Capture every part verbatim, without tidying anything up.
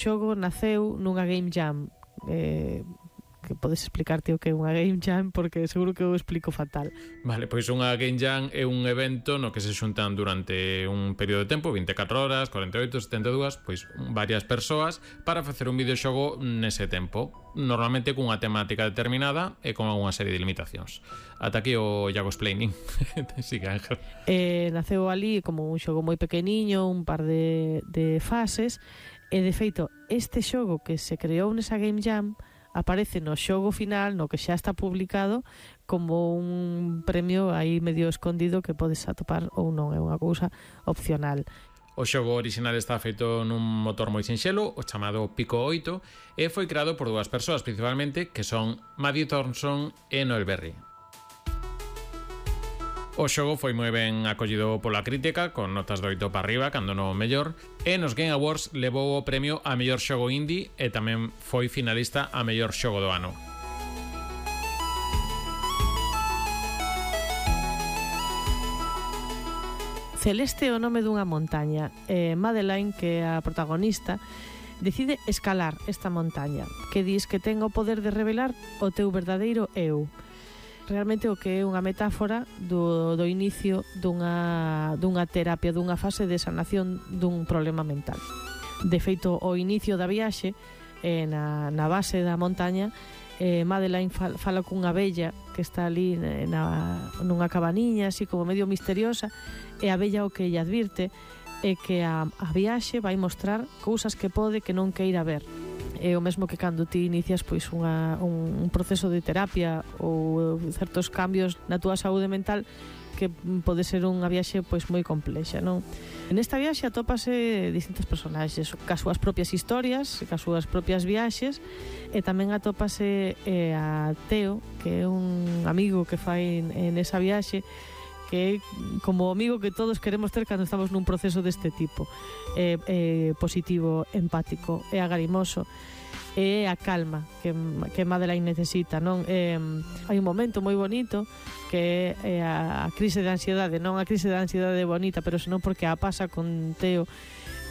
xogo naceu nunha Game Jam, eh, que podes explicarte o que é unha Game Jam, porque seguro que eu explico fatal. Vale, pois unha Game Jam é un evento no que se xuntan durante un período de tempo, vinte e catro horas, cuarenta e oito, setenta e dúas, pois varias persoas para facer un videoxogo nese tempo, normalmente cunha temática determinada e con unha serie de limitacións. Ata aquí o Iago explaining. Siga, Ángel. Eh, naceu ali como un xogo moi pequeniño, un par de, de fases, e de feito, este xogo que se creou nesa Game Jam aparece no xogo final, no que xa está publicado, como un premio aí medio escondido que podes atopar ou non, é unha cousa opcional. O xogo original está feito nun motor moi sinxelo, o chamado Pico oito, e foi creado por dúas persoas principalmente, que son Maddie Thornton e Noel Berry. O xogo foi moi ben acollido pola crítica, con notas de oito para arriba, cando non o mellor, e nos Game Awards levou o premio a mellor xogo indie e tamén foi finalista a mellor xogo do ano. Celeste é o nome dunha montaña, e Madeline, que é a protagonista, decide escalar esta montaña, que dis que ten o poder de revelar o teu verdadeiro eu. Realmente o que é unha metáfora do, do inicio dunha, dunha terapia, dunha fase de sanación dun problema mental. De feito, o inicio da viaxe, eh, na, na base da montaña, eh, Madeline fal, fala cunha abella que está ali na, nunha cabaniña, así como medio misteriosa, e a abella o que lle advirte é que a, a viaxe vai mostrar cousas que pode que non queira ver. É o mesmo que cando ti inicias pois unha, un, un proceso de terapia ou certos cambios na túa saúde mental, que pode ser unha viaxe pois moi complexa, non? Nesta viaxe atópase distintos personaxes, cas súas propias historias, cas súas propias viaxes, e tamén atópase eh, a Teo, que é un amigo que fai en, en esa viaxe, que é como o amigo que todos queremos ter cando estamos nun proceso deste tipo, eh, eh, positivo, empático e agarimoso, e a calma que, que Madeline necesita, non? Eh, hai un momento moi bonito que é a, a crise de ansiedade, non a crise de ansiedade bonita, pero senón porque a pasa con Teo.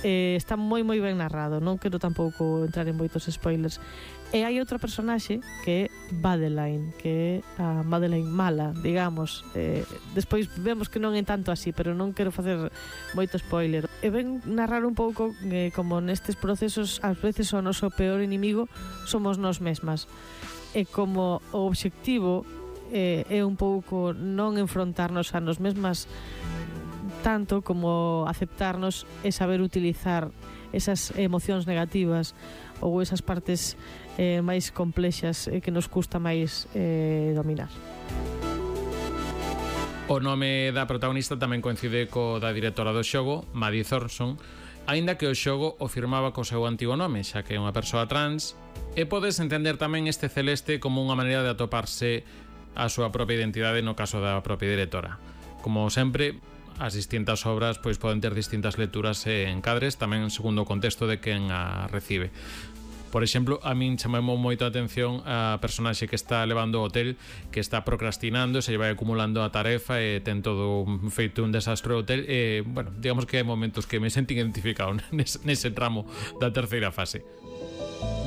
Eh, está moi moi ben narrado, non quero tampouco entrar en moitos spoilers. E hai outra personaxe que é Madeline, que é a Madeline mala, digamos. Eh, despois vemos que non é tanto así, pero non quero facer moito spoiler. E ven narrar un pouco eh, como nestes procesos ás veces o noso peor inimigo somos nós mesmas. E como o obxectivo eh, é un pouco non enfrontarnos a nos mesmas tanto como aceptarnos e saber utilizar esas emocións negativas ou esas partes eh, máis complexas eh, que nos custa máis eh, dominar. O nome da protagonista tamén coincide co da directora do xogo, Maddie Thornton, aínda que o xogo o firmaba co seu antigo nome, xa que é unha persoa trans, e podes entender tamén este Celeste como unha maneira de atoparse a súa propia identidade no caso da propia directora. Como sempre, as distintas obras pois poden ter distintas lecturas e encadres, tamén segundo o contexto de quen a recibe. Por exemplo, a min chamou moito a atención a personaxe que está levando o hotel, que está procrastinando, se vai acumulando a tarefa e ten todo feito un desastre o hotel, e, bueno, digamos que hai momentos que me senti identificado nese, nese tramo da terceira fase.